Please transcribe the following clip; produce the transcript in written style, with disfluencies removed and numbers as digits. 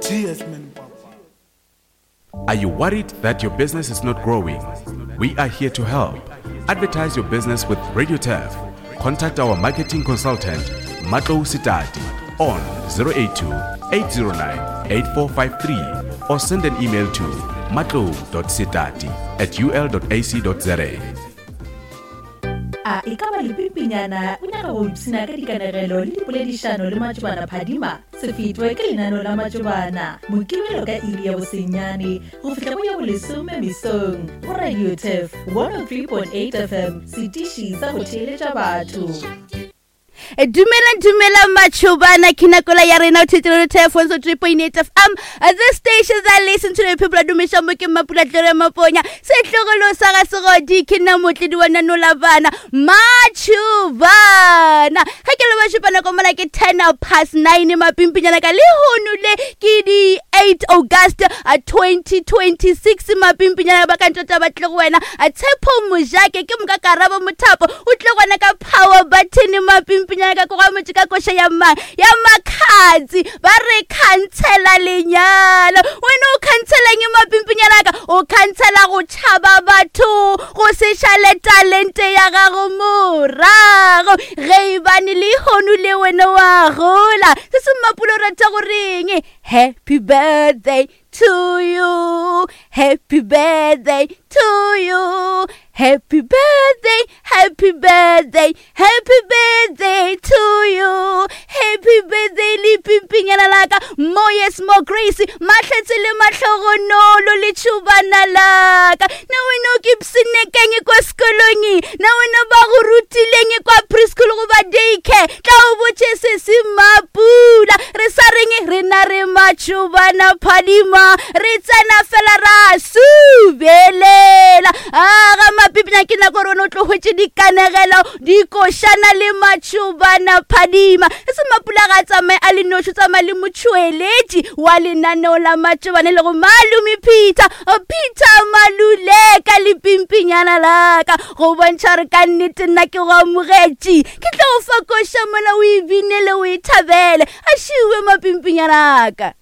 Cheers man papa. Are you worried that your business is not growing? We are here to help. Advertise your business with Radio Turf. Contact our marketing consultant, Matlo Sitati, on 082 809 8453 or send an email to matlo.sitati at ul.ac.za. A e ka ba lepimpinyana o nyaka go ipshina ka dikanegelo le dipoledišano le matšobana phadima? Se fetwe ke lenaneo la matšobana Mokibelo ka iri ya bosenyane go fihla go ya bolesome mesong go Radio Turf 103.8 FM, setiši sa go theeletša batho. Dumelang dumelang matšhobana ke nakola ya rena o thetsele re telephone so 3.8 FM the station that listen to the people dumiša mo ke mapula tlore maponya setlogolo sa ga segodi ke nna motledi wa nanola bana matšhobana ge ke le ba šupa nako mola ke 10 past 9 mapimpinyana ka lehono le ke di 8 August 2026 mapimpinyana ba ka ntšwa ba tle go wena tshepo mojake ke moka karabo mothapo o tle gona ka power button mapimpinyana ka koga motse ka koša ya mang ya makgatsi ba re khansela lenyalo wena o khanseleng mapimpinyana ka o khansela go tšhaba batho go se šale talente ya gago morago ge e bane lehono le wena wa gola se se mmapulo rata goreng happy birthday to you happy birthday to you happy birthday happy birthday happy birthday to you happy birthday le pimpinyana laka more yes more grace matlhatse le matlhogonolo le tšhubana laka na wena o ke psinekeng kwa sekolong na wena ba go rutileng kwa preschool goba daycare tla o botše se se mapula re sa reng rena re matšhobana phadima re tsena fela ra subelela aga mapipina ke nako gore wena o tlo hwetše dikanegelo dikošana le matšhobana phadima e se mapula ga a tsamaye a le noši o tsamaya le motšhweletši wa lenaneo la matšobane le go malome peter peter maluleka le pimpinyana laka go bontšha gore ka nnete nna ke go amogetše ke tlo go fa koša mola o e binele o e thabele a šiwe mapimpinyana aka.